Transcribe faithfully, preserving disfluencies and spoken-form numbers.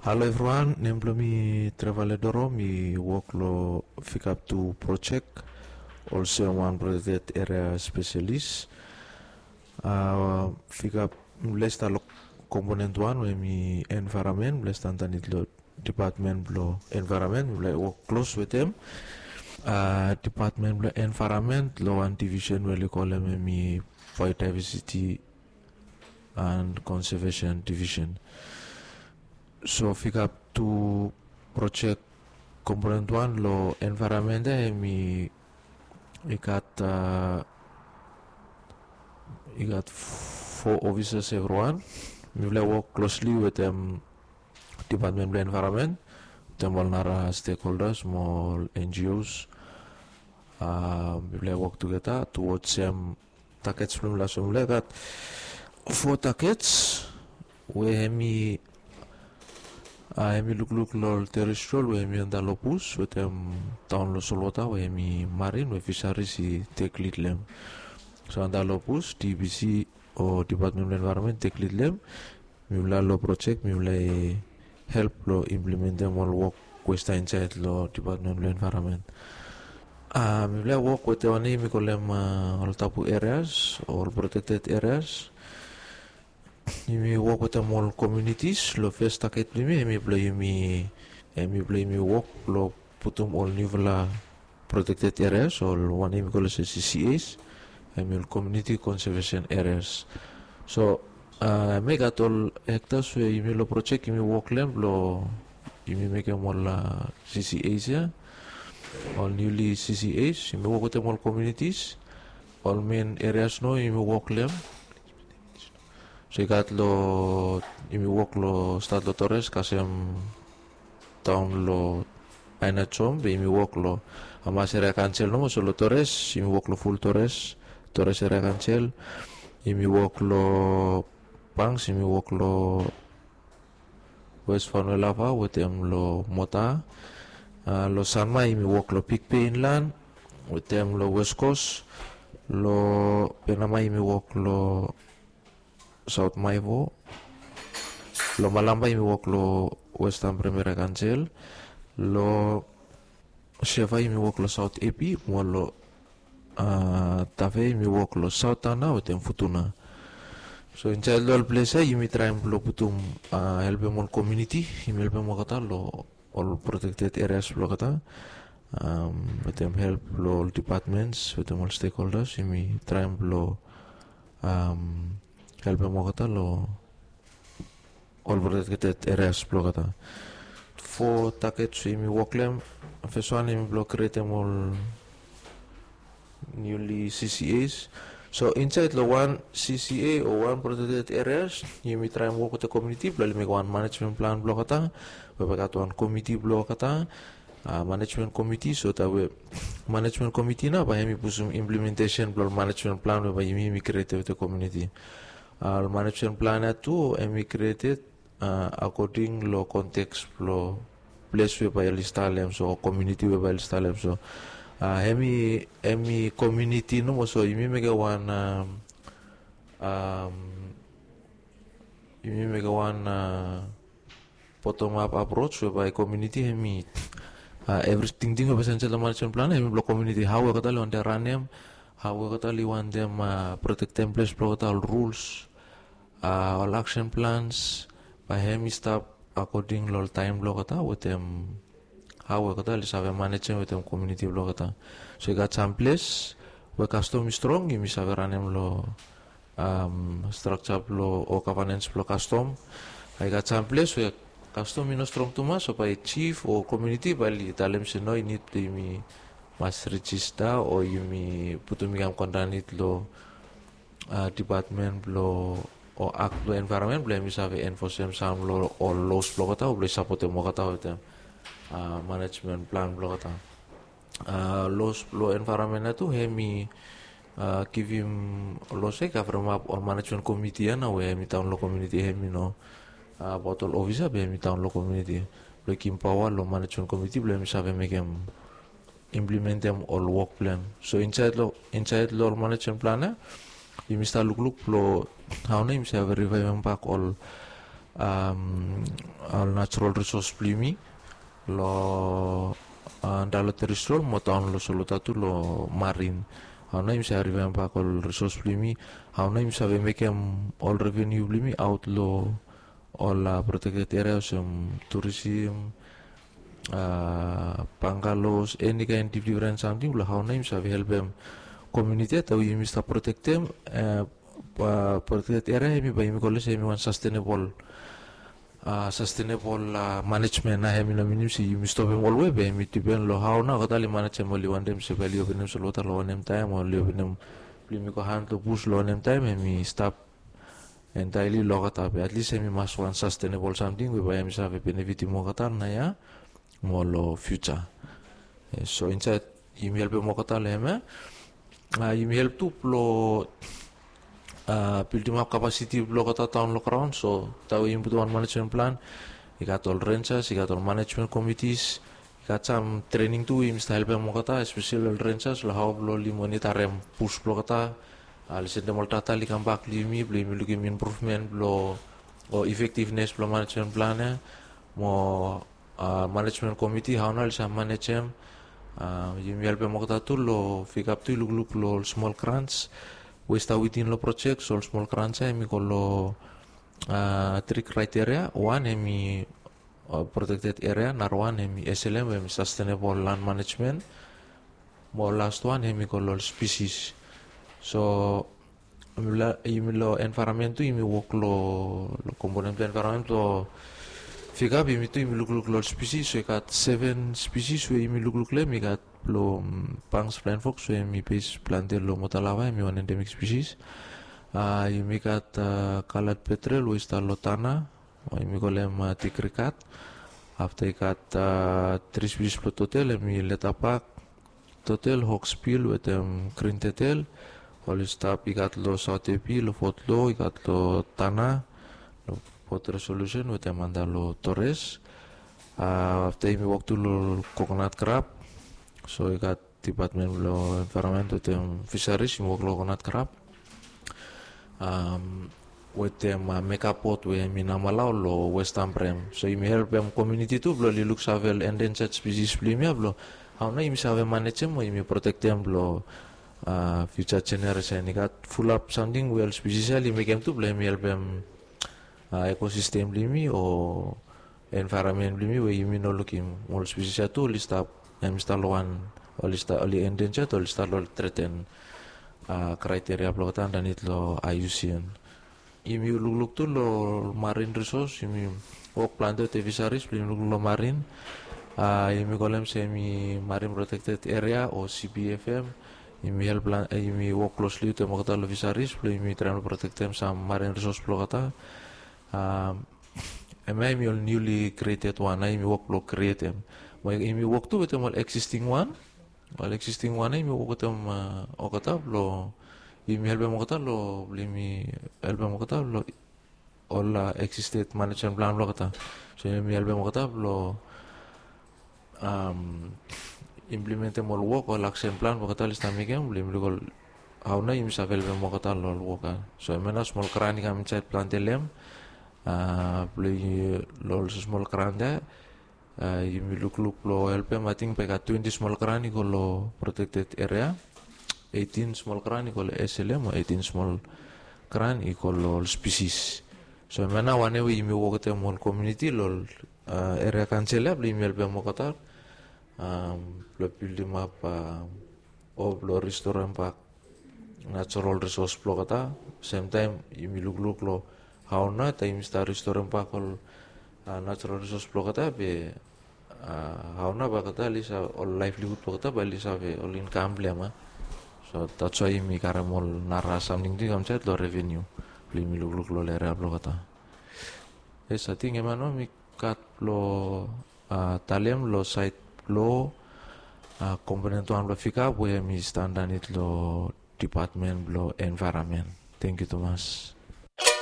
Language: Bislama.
Halo evriwan, nem blong mi Trevale Doro, mi wok long Fikap tu projek olsem wan protected area spesialis. Fikap mi blong stap long komponent wan we mi envaeramen, mi blong stap andanit long dipatmen blong envaeramen, mi blong wok klos wetem dipatmen blong envaeramen long wan divisen we oli kolem hemi biodiversiti and conservation division. So Fikap tu projek komponent wan long envaeramen ya, hemi i gat i gat fo ofisas evriwan. Mi blong wok klosli wetem dipatmen blong envaeramen, wetem ol nara stekholdas mo ol N G Os. Mi blong wok tugeta tuwod sem takets blong mifala. So mifala i gat fo takets we hemi hemi lukluk long ol terestriol we hemi antap long bus wetem taon long solwota we hemi marin we fisaris i tek lid long hem. So antap long bus, D B C o dipatmen blong envaeramen i tek lid long hem. Mifala long projek mifala i help long implementem ol wok we i stap insaed long dipatmen blong envaeramen. Mifala i wok wetem wanem yumi kolem ol tabu ereas o ol protekted ereas. Yumi wok wetem ol komiunitis. Long fes taket blong yumi hemi blong yumi hemi blong yumi wok blong putum ol niufala protekted ereas o ol wanem yumi kolem olsem C C As, hemi ol komiuniti konsevesen ereas. So hemia i gat ol hektas we yumi long projek yumi wok long hem blong yumi mekem ol C C As ya, ol niuli C C As. Yumi wok wetem ol komiunitis, ol men ereas nao yumi wok long hem. So i gat long yumi wok long stat long Torres kasem taon long Aina Jom, be yumi wok long hamas eria kaonsel nomo. So long Torres yumi wok long ful Torres, Torres eria kaonsel. Yumi wok long Banks, yumi wok long West Vanuelava wetem long Mota. Long Sanma yumi wok long Big Bay Inland wetem long West Coast. Long Penama yumi wok long Saot Maewo. Long Malampa yumi wok long Westan Praemeri Kaonsel. Long Sefa yumi wok long Saot Epi mo long Tafe yumi wok long Saot Tana wetem Futuna. So insaed long ol ples ya yumi traem blong putum, helpem ol komiuniti, yumi helpem olgeta long ol protekted ereas blong olgeta wetem help blong ol dipatmens wetem ol stekholdas. Yumi traem blong helpem olgeta long ol protekted ereas blong olgeta. Fo taket we yumi wok long hem. Fes wan hemi blong krietem ol niuli C C As. So insaed long wan C C A o wan protekted ereas yumi traem wok wetem komiuniti blong oli mekem wan manejmen plan blong olgeta, we bae gat wan komiti blong olgeta, manejmen komiti. So taem we manejmen komiti nao bae hemi putum implementesen blong ol manejmen plan we bae yumi yumi krietem wetem komiuniti. Ol manejmen plan ya tu hemi krieted akoding long konteks blong ples we bae oli stap long hem, so komiuniti we bae oli stap long hem. So hemi hemi komiuniti nomo. So yumi mekem wan yumi mekem wan bottom up approach we bae komiuniti hemi evri tingting we bae save insaed long manejmen plan hemi blong komiuniti. Hao we olgeta oli wantem ranem, hao we olgeta oli wantem protektem ples blong olgeta, ol ruls, ol aksen plans, bae hemi stap akoding long ol taem blong olgeta wetem hao we olgeta oli save manejem wetem komiuniti blong olgeta. So i gat sam ples we kastom i strong, yumi save ranem long strakja blong o gavanens blong kastom. I gat sam ples we kastom i no strong tumas, so bae jif o komiuniti bae oli talem se no, i nid blong yumi mas rejista o yumi putum i kam go andanit long dipatmen blong o akt blong envaeronmen blong hemi save enfosem sam long ol los blong olgeta o blong i sapotem olgeta wetem manejmen plan blong olgeta. Los blong envaeronmen ya tu hemi givim los ya i kavremap ol manejmen komiti ya nao we hemi daon long komiuniti, hemi no abaot ol ofisa be hemi daon long komiuniti, blong i givim paoa long manejmen komiti blong hemi save mekem, implementem ol wok blong hem. So insaed long insaed long ol manejmen plan ya yumi stap lukluk blong hao nao yumi save rivaevem bak ol ol natural resource blong yumi long Dalo Terrestrial mo taon long Solota tu long Marine. Hao nao yumi save revamp bak ol resource blong yumi? Hao nao yumi save mekem ol revenue blong yumi aot long ol protected area olsem tourism, bungalows, eni kaen difren samting blong hao nao yumi save helpem community ya taem we yumi stap protectem protected area hemi bae yumi kolem se hemi wan sustainable sustainable management. Nao hemi no minim se yumi stopem olwe be hemi dipen long hao nao olgeta oli manejem, oli wantem se bae oli openem solwota long wanem taem, oli openem blong yumi go han long bus long wanem taem, hemi stap entirely long olgeta be at least hemi mas wan sustainable samting we bae hemi save benefitim olgeta naoia mo long future. So insaed yumi helpem olgeta long hemia. Yumi help tu blong bildimap capacity blong olgeta daon long graon. So taem we yumi putum wan management plan, i gat ol rangers, i gat ol management committees, i gat sam trening tu we yumi stap helpem olgeta, especially ol rangers long hao blong oli monitarem bus blong olgeta, oli sendem ol data oli kambak long yumi blong yumi lukim improvement blong o effectiveness blong management plan ya mo management committee hao nao oli save manejem. Yumi helpem olgeta tu long pikap tu i lukluk long ol small grants we i stap within long project. So ol small grants ya hemi go long tri criteria. Wan hemi protected area, narawan hemi S L M we hemi sustainable land management, mo last wan hemi go long ol species. So yumi long environment tu yumi wok long component blong environment blong pikap, yumi tu yumi lukluk long ol species. So i gat seven species we yumi lukluk long hem. I gat blong Banks flying fox we hemi base plante long Motalawa, hemi wan endemic species. Yumi gat coloured petrel we i stap long Tanna, yumi kolem tigrikat. Afta i gat tri species blong turtle, hemi leatherback turtle, hawksbill wetem green turtle. Oli stap, i gat long South Epi, long Fort Law, i gat long Tanna, long Port Resolution wetem antap long Torres. Afta yumi wok tu long coconut crab. So i gat department blong environment wetem fisheries, yumi wok long coconut crab wetem mega boat we hemi Namalao long West Ambrym. So yumi helpem community tu blong oli luksave ol endangered species blong yumi ya blong hao nao yumi save manejem o yumi protektem blong future generation. I gat fulap samting we ol species ya oli mekem tu blong hemi helpem ecosystem blong yumi o environment blong yumi we yumi no lukim. Ol species ya tu oli stap, hemi stap long wan, oli stap, oli endangered, oli stap long threaten criteria blong olgeta andanit long I U C N. Yumi lukluk tu long marine resource, yumi wok plante wetem fisheries blong yumi lukluk long marine. Yumi kolem se hemi marine protected area o C P F M. Yumi help, yumi wok closely wetem olgeta long fisheries blong yumi traem blong protektem sam marine resource blong olgeta. Hemia hemi ol newly created wan, nao yumi wok blong createm. Mo yumi wok tu wetem ol existing wan. Ol existing wan nao yumi wok wetem olgeta blong yumi helpem olgeta long, blong yumi helpem olgeta long ol existed management plan blong olgeta. So yumi helpem olgeta blong implementem ol wok, ol action plan we olgeta oli stap mekem blong yumi luk ol hao nao yumi save helpem olgeta long ol wok ya. So hemia nao smol grant i kam insaed plante long hem. Blong long ol smol grant ya yumi lukluk blong helpem, ating bae i gat twenti smol grant i go long protected area, eighteen smol grant i go long S L M, o eighteen smol grant i go long ol species. So hemia nao wanem we yumi wok wetem ol community long ol area council ya blong yumi helpem olgeta blong bildimap o blong ristorem bak natural resource blong olgeta. Semtaem yumi lukluk long hao nao taem yumi stap ristorem bak ol natural resource blong olgeta be hao nao bae olgeta oli save, ol livelihood blong olgeta bae oli save, ol income blong hem. So that's why yumi karem ol nara samting tu i kam insaed long revenue blong yumi lukluk long ol area blong olgeta. Yes, ating hemia nao mi gat blong talem long saed blong component wan blong pikap we hemi stap andanit long department blong environment. Tangkiu tumas.